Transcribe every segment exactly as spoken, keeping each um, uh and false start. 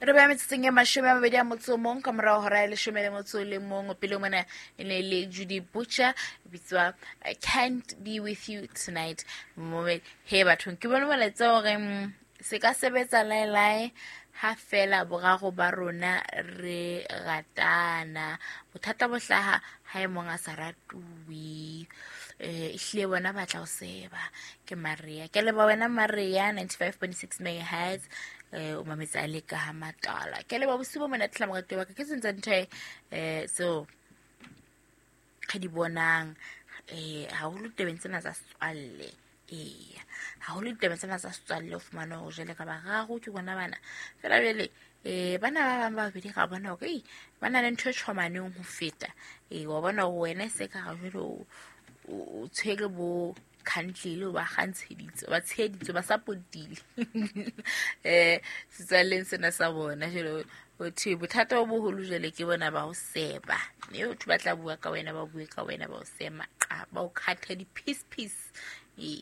Re beha metsotsong e mashome a mabedi a motso o mong ka morao hora ya leshome le motso o le mong. Pele mona e ne le Judy Butcher, e bitswa I Can't Be With You Tonight. Momedi he bathong, ke bone molaetsa hore mm, se ka sebetsa laelae ha fela boraro ba rona re ratana. Bothata bo hlaha ha e mong a sa ratuwe. Eh, ehlile bona ba tla o seba. Ke Maria. Ke leboha wena Maria, ninety-five point six megahertz. Eh, o mametse a le ka ha matala. Ke leboha bosiu bo monate hle moratuwa wa ka. Ke sentse ntho e, eh, tseo re di bonang, eh, haholo tabeng tsena tsa setswalle. Eya, haholo ditabeng tsena tsa setswalle o fumana hore jwale ka bararo ke bona bana. Feela jwale, eh, bana ba bang ba babedi ra bona hore, ei, ba na le ntho e tjhomaneng ho feta. Eh, wa bona hore wena e se ka re jwale o, o, o tshwere bo khantlele, o ba kgantsheditse, ba tsheheditse, ba support-ile. Eh, setswalleng sena sa bona jwale ho thwe bothata bo boholo jwale ke bona ba ho seba. Mme batho ba tla bua ka wena, ba bue ka wena, ba o sema, qa, ba o khatha di-piece piece. Ee,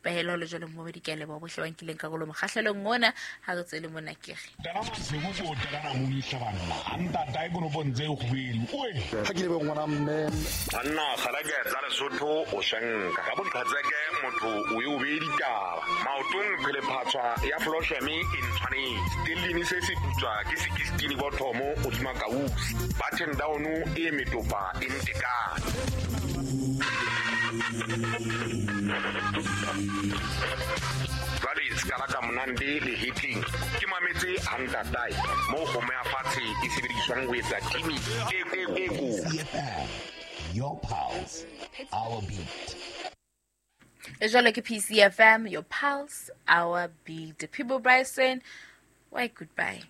pehelo le jwale mo di ke leboha bohle ba nkileng karolo mokgahlelong ona. Ha re tswele mona ke re. Tana Masego ko tana mo itlhabanna. A ntata e kono ntse e kgwedi. Oe. Ha ke lebe ngwana mme. Banna kgala ke tsa Lesotho o shanka. Ka boqhatseke motho o e o be ditaba. Maotong phele phatswa ya Flosheme e ntshwanetse. Stellini se se putswa ke sixteen bothomo o dima kausi. Button down e metopa e ntekane. Jwale se ka la ka monande le hitling. Ke mametse a ntatae moo kgomo ya fatshe e sebediswang ho etsa kimi e, e, e kotsi. Your pulse, our beat. E jwale ke P C F M, your pulse, our beat. People Bryson, why goodbye.